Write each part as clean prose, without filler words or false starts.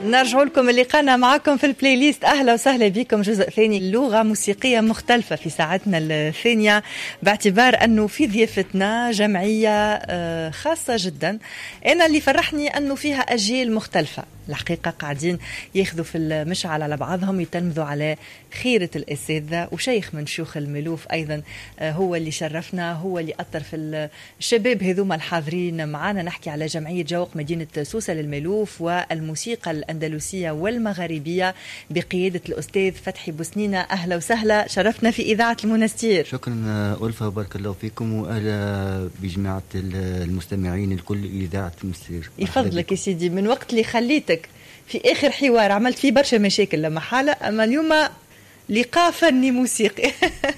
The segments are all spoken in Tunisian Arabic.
نرجع لكم لقانا معكم في ال playlist. اهلا وسهلا بكم. جزء ثاني، لغة موسيقية مختلفة في ساعتنا الثانيه، باعتبار انه في ضيافتنا جمعية خاصة جدا. انا اللي فرحني انه فيها اجيال مختلفه، الحقيقة قاعدين ياخذوا في المشعل على بعضهم، يتلمذوا على خيرة الأساتذة، وشيخ من شيوخ الملوف أيضا هو اللي شرفنا، هو اللي أطر في الشباب هذوما الحاضرين معنا. نحكي على جمعية جوق مدينة سوسة للملوف والموسيقى الأندلسية والمغاربية بقيادة الأستاذ فتحي بوسنينة. أهلا وسهلا، شرفنا في إذاعة المنستير. شكرا ألفة وبارك الله فيكم، وأهلا بجماعة المستمعين الكل إذاعة المنستير. يفضلك يا سيدي. من وقت اللي خليتك في اخر حوار عملت فيه برشا مشاكل لما حاله، اما اليوم لقاء فني موسيقي.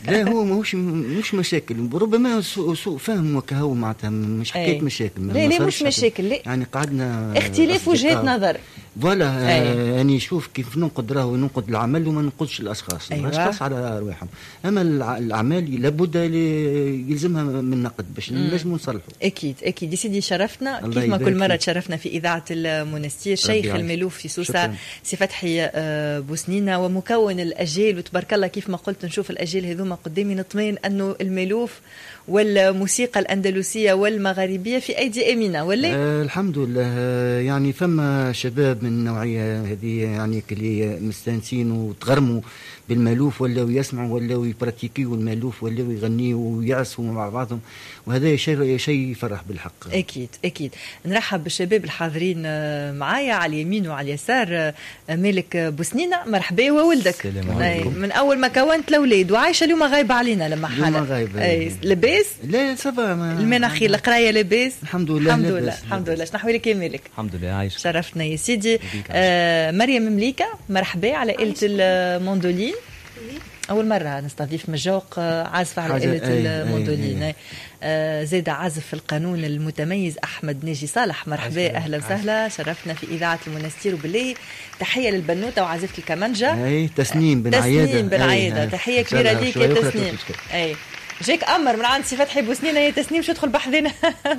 لا، هو ماهوش مش مشاكل، ربما سوء فهم وكهو، معناتها مش حكاية مشاكل. لا لا، مش مشاكل، لا. يعني قعدنا اختلاف وجهات نظر. voilà، يعني شوف كيف ننقد، راهو ننقد العمل وما ننقدش الاشخاص. الاشخاص على ارواحهم، اما الاعمال لابد يلزمها من نقد باش نجموا نصلحوا. اكيد اكيد يا سيدي، شرفتنا كيف ما كل مرة تشرفنا في اذاعة المنستير، شيخ الملوف في سوسة سي فتحي بوسنينه ومكون الاجيال، وتبارك الله كيف ما قلت نشوف الاجيال هذوما قدامي نطمئن انه الملوف والموسيقى الاندلسيه والمغاربيه في ايدي امينه، ولا؟ الحمد لله، يعني فما شباب من النوعية هذه، يعني اللي مستانسين وتغرموا بالمالوف، ولاو يسمعوا ولاو يبراتيكيو المالوف، ولاو يغنيوا ويعزفوا مع بعضهم، وهذا شيء يفرح بالحق. اكيد اكيد. نرحب بالشباب الحاضرين معايا على اليمين وعلى اليسار. مالك بوسنينه، مرحبا، وولدك. السلام عليكم. من اول ما كونت الاولاد، وعايشة اليوم غايبة علينا لما حالة. غايبه. لاباس؟ لا، ça va. المناخي، القراية لاباس؟ الحمد لله. الحمد لله الحمد لله. شنو احوالك يا مالك؟ الحمد لله، عايش. شرفتنا يا سيدي. مريم مليكه، مرحبا على آلة الموندولين. أول مرة نستضيف مجوق عازفة على آلة الموندولين. زاد عازف القانون المتميز أحمد ناجي صالح، مرحبا، أهلا وسهلا، شرفنا في إذاعة المنستير. وبالله تحية للبنوتة وعازفة الكمانجة. أي، تسنيم بن عيادة. تسنيم بن عيادة، تحية كبيرة ليك يا تسنيم. أي، جاك امر من عند سي فتحي بوسنينه يا تسنيم، شو تدخل بحذنا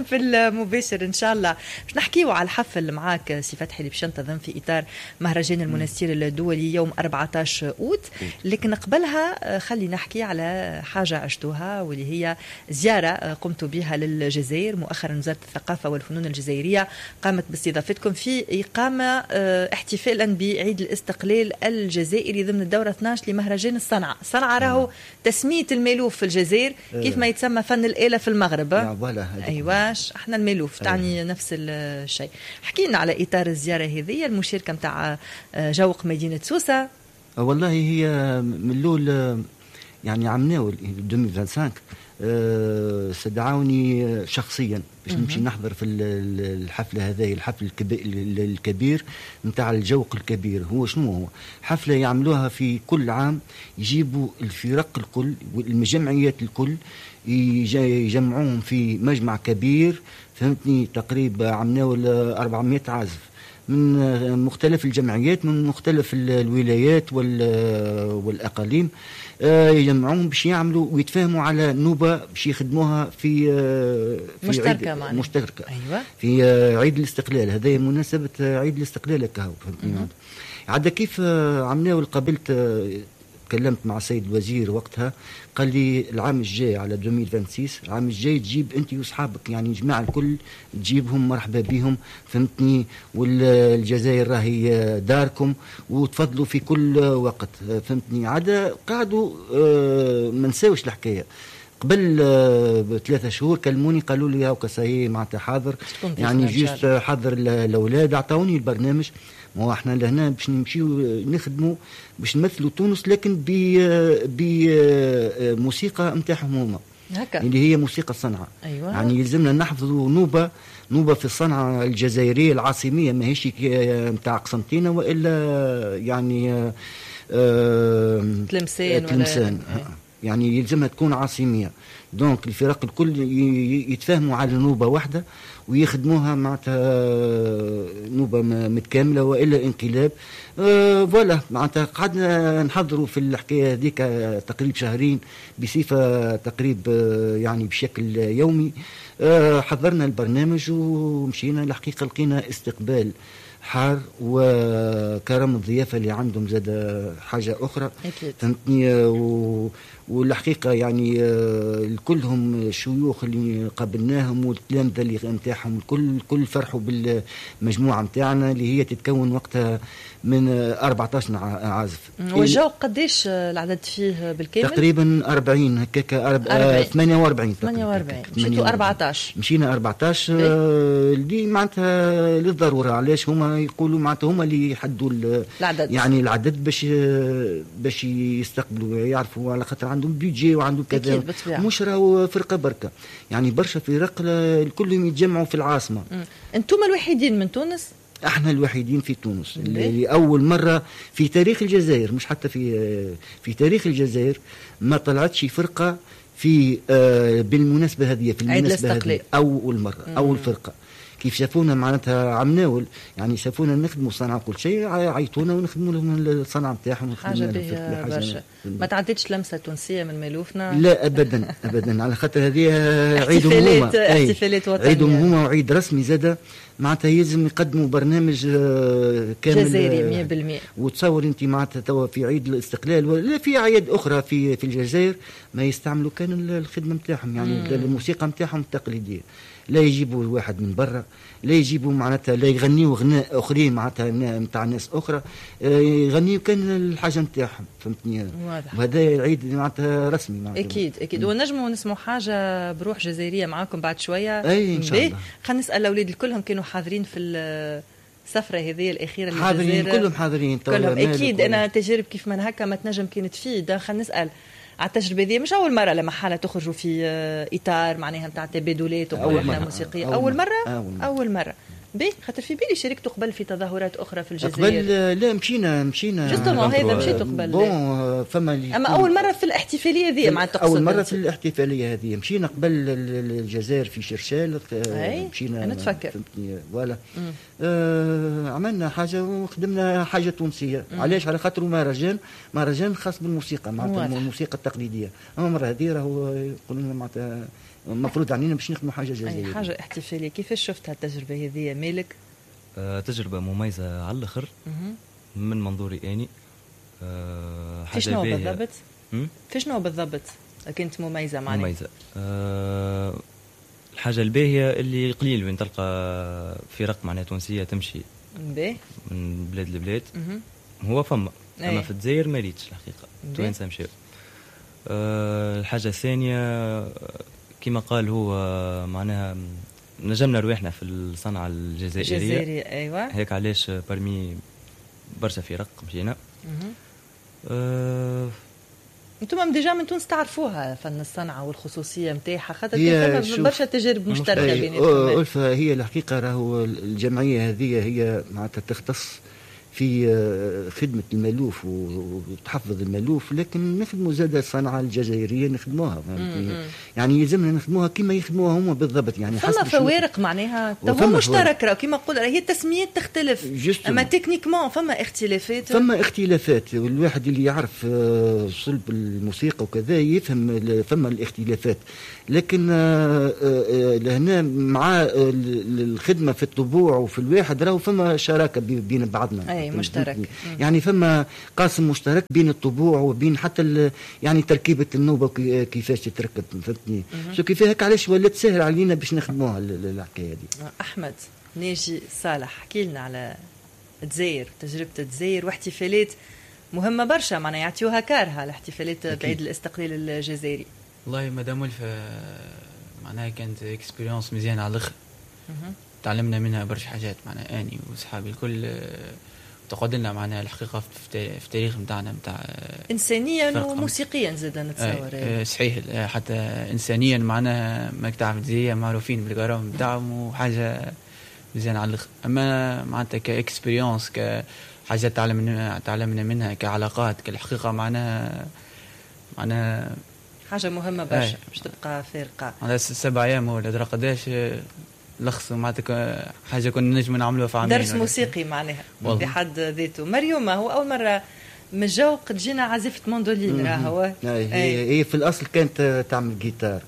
في المباشر ان شاء الله. باش نحكيو على الحفل معاك سي فتحي اللي باش ينتظم في اطار مهرجان المنستير الدولي يوم 14 اوت، لكن قبلها خلي نحكي على حاجة عشتوها واللي هي زيارة قمت بها للجزائر مؤخرا. وزارة الثقافة والفنون الجزائرية قامت باستضافتكم في اقامه احتفالا بعيد الاستقلال الجزائري ضمن الدورة 12 لمهرجان الصنعه. الصنعة راهو تسميه المالوف في الجزائر، كيف ما يتسمى فن الآلة في المغرب. ايواش، احنا المالوف تعني نفس الشيء. حكينا على اطار الزيارة هذه، المشاركة نتاع جوق مدينة سوسه. والله هي من الاول، يعني عمناول 2025 استدعوني شخصيا باش نمشي نحضر في الحفلة هذه، الحفل الكبير نتاع الجوق الكبير. هو شنو هو؟ حفلة يعملوها في كل عام، يجيبوا الفرق الكل والجمعيات الكل، يجمعوهم في مجمع كبير، فهمتني؟ تقريبا عملناه 400 عازف من مختلف الجمعيات، من مختلف الولايات والاقاليم، يجمعوهم باش يعملوا ويتفاهموا على نوبه باش يخدموها في مشتركة معنا. مشتركة في عيد الاستقلال، هذا مناسبة عيد الاستقلال كهو، فهمتني؟ عاد كيف عملناه، قابلت، تكلمت مع السيد الوزير وقتها، قال لي العام الجاي على 2026، العام الجاي تجيب انت واصحابك، يعني جماعة الكل تجيبهم، مرحبا بهم، فهمتني؟ والجزائر راهي داركم وتفضلوا في كل وقت، فهمتني؟ عاد قعدوا ما نساوش الحكايه. قبل ب3 شهور كلموني، قالوا لي هاكا ça y est، معناتها حاضر، يعني juste حضر الاولاد. اعطوني البرنامج. ما هو احنا لهنا باش نمشيو نخدموا باش نمثلوا تونس، لكن بموسيقى نتاعهم هما اللي هي موسيقى الصنعة. يعني يلزمنا نحفظوا نوبه نوبه في الصنعة الجزائرية العاصميه، ماهيش نتاع قسنطينه والا يعني تلمسان. تلمسان. يعني يلزمها تكون عاصميه، donc الفرق الكل يتفاهموا على نوبه واحدة ويخدموها، معناتها نوبه متكاملة والا انقلاب. Voilà، معناتها قعدنا نحضروا في الحكاية هذيك تقريب شهرين بصفة تقريب يعني بشكل يومي. حضرنا البرنامج ومشينا. الحقيقة لقينا استقبال حار وكرم الضيافة اللي عندهم زاد حاجة اخرى فهمتني. والحقيقة يعني كلهم الشيوخ اللي قابلناهم والتلامذه اللي نتاعهم الكل فرحوا بالمجموعة نتاعنا اللي هي تتكون وقتها من 14 عازف. والجو قداش العدد فيه بالكامل؟ تقريبا 40 هكاك، 48 48. مشيتوا 14؟ مشينا 14 اللي معناتها للضرورة. علاش هما يقولوا معناتها هما اللي يحدوا العدد، يعني العدد باش يستقبلوا، يعرفوا على خاطر عندهم budget وعندهم كذا، مش راهو فرقه بركة، يعني برشا فرق الكل يتجمعوا في العاصمة. انتم الوحيدين من تونس؟ احنا الوحيدين في تونس اللي اول مرة في تاريخ الجزائر، مش حتى في تاريخ الجزائر ما طلعتش فرقه في بالمناسبة هذه، في المناسبة هذه اول مرة. اول فرقه كيف شافونا معناتها عمناول، يعني شافونا نخدموا صنعه كل شيء، عيطونا ونخدموا لهم الصنعة نتاعهم. حاجة باهيه برشا. ما تعديتش لمسه تونسية من مالوفنا؟ لا ابدا ابدا، على خاطر هذه عيدهم هما، احتفالات وطنية، عيدهم هما وعيد رسمي زاده، معناتها يلزم يقدموا برنامج كامل جزائري 100%. وتصور انت معناتها توا في عيد الاستقلال ولا في اعياد اخرى في الجزائر ما يستعملوا كان الخدمة نتاعهم، يعني الموسيقى نتاعهم التقليدية، لا يجيبوا واحد من برا، لا يجيبوا معناتها، لا يغنيوا غناء اخرين معناتها نتاع ناس اخرى، يغنيوا كان الحاجة نتاعهم فهمتني. وهذا العيد معناتها رسمي معناتها. اكيد اكيد. ونجموا نسمعوا حاجة بروح جزائرية معاكم بعد شوية. اي ان شاء الله. خلينا نسال الاولاد الكلهم كانوا حاضرين في السفرة هذه الاخيرة للجزائر؟ حاضرين كلهم، حاضرين كلهم اكيد. انا تجارب كيف من هكا ما تنجم كانت تفيد. خلينا نسال على التجربة هذه، مش اول مرة لما حاله تخرجوا في اطار معناها نتاع تبادلات وقرارات موسيقية. اول مرة؟ اول مرة. باهي، خاطر في بالي شاركتوا قبل في تظاهرات اخرى في الجزائر. قبل لا، مشينا justement هذا مشيتوا قبل. bon فما اما اول مرة في الاحتفالية هذه مع تقصد؟ اول مرة في الاحتفالية هذه مشينا قبل الجزائر في شرشال، مشينا نتفكر فهمتني voilà. عملنا حاجة وخدمنا حاجة تونسية. علاش؟ على خاطر مهرجان خاص بالموسيقى معناتها الموسيقى التقليدية. اما المرة هذه راهو يقولوا لنا معناتها المفروض علينا باش نخدموا حاجة جزائرية، حاجة احتفالية. كيفاش شفتها التجربة هذه مالك؟ تجربه مميزة على الاخر من منظوري اني. في شنو بالضبط؟ في شنو بالضبط كانت مميزة معناها؟ مميزة الحاجة الباهيه اللي قليل وين تلقى فرق معناها تونسية تمشي من بلاد لبلاد. هو فما اما في الجزائر ما ريتش الحقيقة توانسة مشاو. الحاجة الثانية كما قال هو معناها نجمنا رواحنا في الصنعة الجزائرية. ايوه هيك علاش parmi برشا فرق مشينا. انتم déjà من تونس تعرفوها فن الصنعة والخصوصيه نتاعها، خاطر كان برشا تجارب مشتركة بيناتكم. ألفة هي الحقيقة راهو الجمعية هذه هي معناتها تختص في خدمة المالوف وتحفظ المالوف، لكن نخدموا زاد الصنعة الجزائرية نخدموها يعني يلزمنا نخدموها كما يخدموها هما بالضبط. يعني فما فوارق معناها هو مشترك راه كما نقول هي التسميات تختلف، اما techniquement فما اختلافات، فما اختلافات. والواحد اللي يعرف صلب الموسيقى وكذا يفهم فما الاختلافات، لكن لهنا مع الخدمة في الطبوع وفي الواحد راهو فما شراكة بين بعضنا. أي مشترك. يعني فما قاسم مشترك بين الطبوع وبين حتى يعني تركيبة النوبة كيفاش تتركب فهمتني. شو كيف هيك علاش ولات سهل علينا باش نخدموها الحكاية دي. أحمد ناجي صالح، حكي لنا على الجزائر، تجربة الجزائر واحتفالات مهمة برشا معناها يعطيوها كارها الاحتفالات بعيد الاستقلال الجزائري. والله مدام ألفة معناها كانت expérience مزيانة على الاخر، تعلمنا منها برشا حاجات معناها اني وصحابي الكل، تقعد لنا معناها الحقيقة في التاريخ نتاعنا نتاع انسانيا وموسيقيا زاد نتصور. صحيح، حتى انسانيا معناها ماك تعرف الجزائرية معروفين بالغرام نتاعهم وحاجه مزيانه على الاخر. اما معناتها ك expérience كحاجة تعلمنا منها كعلاقات كالحقيقه معناها حاجة مهمة برشا باش تبقى فارقه. على 7 ايام ولا درا قداش لخصوا معناتها حاجة كنا نجم نعملوها في عامين. درس موسيقي معناها بحد ذاته. مريوم هو اول مرة من الجوق تجينا عازفه موندولين راهو. هي في الاصل كانت تعمل جيتار.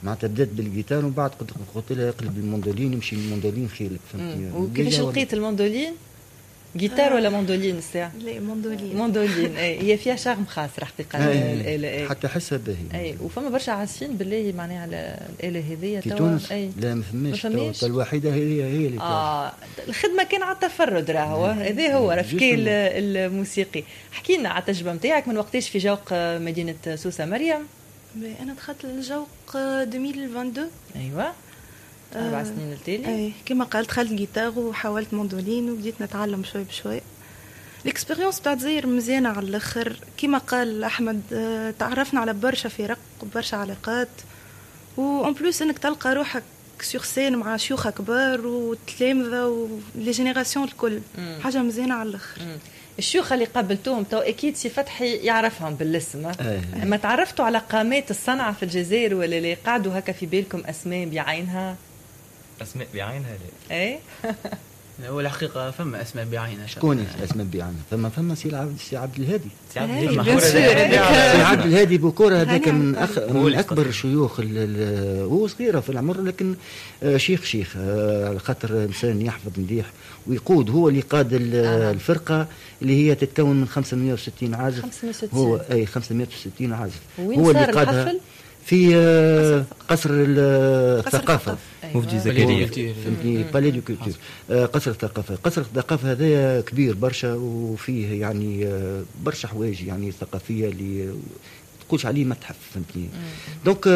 معناتها بدات بالجيتار ومن بعد قلت لها اقلب الموندولين، امشي الموندولين خيرك، فهمتني. وكيفاش لقيت ال mandoline؟ guitare ولا موندولين الساعة؟ لا موندولين. موندولين اي، هي فيها charme خاص الحقيقة الآلة. حتى حسها باهي. اي، وفما برشا عازفين بالله معناها على الآلة هذيا في تونس؟ لا ما فماش، الوحيدة هي اللي الخدمة كان على التفرد راهو، هذا هو رفكي الموسيقي. احكي لنا على التجربة نتاعك من وقتاش في جوق مدينة سوسة مريم؟ أنا دخلت للجوق 2022. ايوه 4 سنين التالي. اي كما قالت دخلت جيتار وحاولت موندولين وبديت نتعلم شوي بشوي. ال expérience تاع الجزائر مزيانه على الاخر، كما قال احمد تعرفنا على برشا فرق وبرشا علاقات، و en plus انك تلقى روحك sur scène مع شيوخ كبار وتلامذه و les générations الكل، حاجة مزيانه على الاخر. الشيوخ اللي قابلتوهم تو اكيد سي فتحي يعرفهم بالاسم، ما تعرفتوا على قامات الصنعة في الجزائر ولا اللي قعدوا هكا في بالكم اسماء بعينها؟ اسماء بعينها لا. اي هو الحقيقة فما اسماء بعينها. شكون اسماء بعينها؟ فما سي عبد الهادي. سي عبد الهادي بوكوره هذاك من اكبر الشيوخ، هو صغيرة في العمر لكن شيخ على خاطر انسان يحفظ مليح ويقود، هو اللي قاد الفرقة اللي هي تتكون من 560 عازف. 560 هو اي 560 عازف. هو اللي قادها في قصر الثقافة. مفدي زكريا، فهمتني، palais de culture، قصر الثقافة. قصر الثقافة هذا كبير برشا وفيه يعني برشا حوايج يعني ثقافية اللي تقولش عليه متحف، فهمتني. donc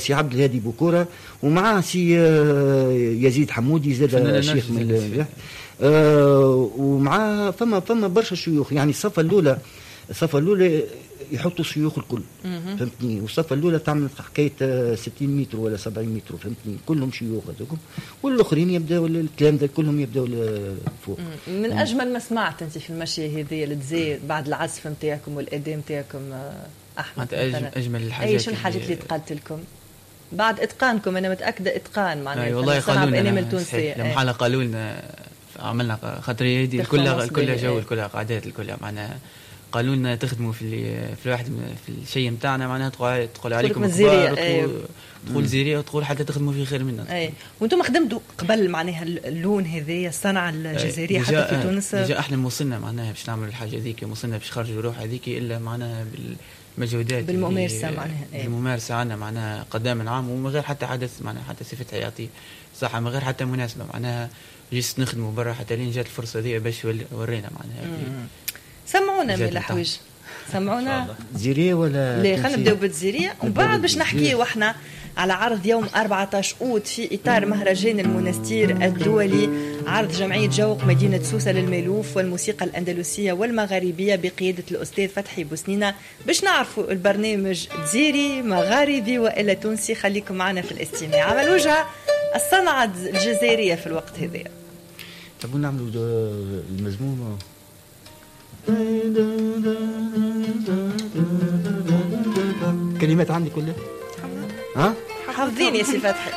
سي عبد الهادي بوكورة ومعاه سي يزيد حمودي زاد شيخ من ومعاه فما برشا شيوخ. يعني الصفة الأولى يحطوا الشيوخ الكل، فهمتني. والصفة الأولى تعمل حكاية 60 متر ولا 70 متر، فهمتني، كلهم شيوخ هذوكم، والآخرين يبداو التلامذة كلهم يبداو فوق. من أجمل ما سمعت أنت في المشي هذه للجزائر بعد العزف نتاعكم والأداء نتاعكم أحمد؟ أجمل الحاجات. أي شو الحاجات اللي تقالت لكم بعد إتقانكم؟ أنا متأكدة إتقان معناها. أي والله قالوا لنا لما حالة قالوا لنا عملنا خاطر هذه كلها جو، كلها قعدات، كلها معناها قالوا لنا تخدموا في الواحد في الشيء نتاعنا، معناها تقول عليكم كبار، تقول زيريه، وتقول حتى تخدموا فيه خير منا. اي وانتم خدمتوا قبل معناها اللون هذايا الصنعة الجزائرية حتى في تونس؟ déjà احنا وصلنا معناها باش نعملوا الحاجة هذيك، وصلنا باش نخرجوا روح هذيك الا معناها بالمجهودات، بالممارسة معناها. بالممارسة عندنا معناها قدام العام، ومن غير حتى حدث معناها حتى صفة حياتي صح، من غير حتى مناسبة معناها juste نخدموا برا حتى لين جات الفرصة ذي باش ورينا معناها. سمعونا من الحوايج، سمعونا زيريه ولا لا؟ خلينا نبداو بالزيريه ومن بعد باش نحكيو احنا على عرض يوم 14 أوت في إطار مهرجان المنستير الدولي، عرض جمعية جوق مدينة سوسة للمالوف والموسيقى الأندلسية والمغاربية بقيادة الأستاذ فتحي بوسنينة، باش نعرفوا البرنامج جزيري مغاربي وإلا تونسي. خليكم معنا في الاستماع. عمل وجهة الصنعة الجزائرية في الوقت هذا. تبون نعملوا المزمومة؟ كلمات عندي كلها؟ ها؟ حافظين يا سي فتحي.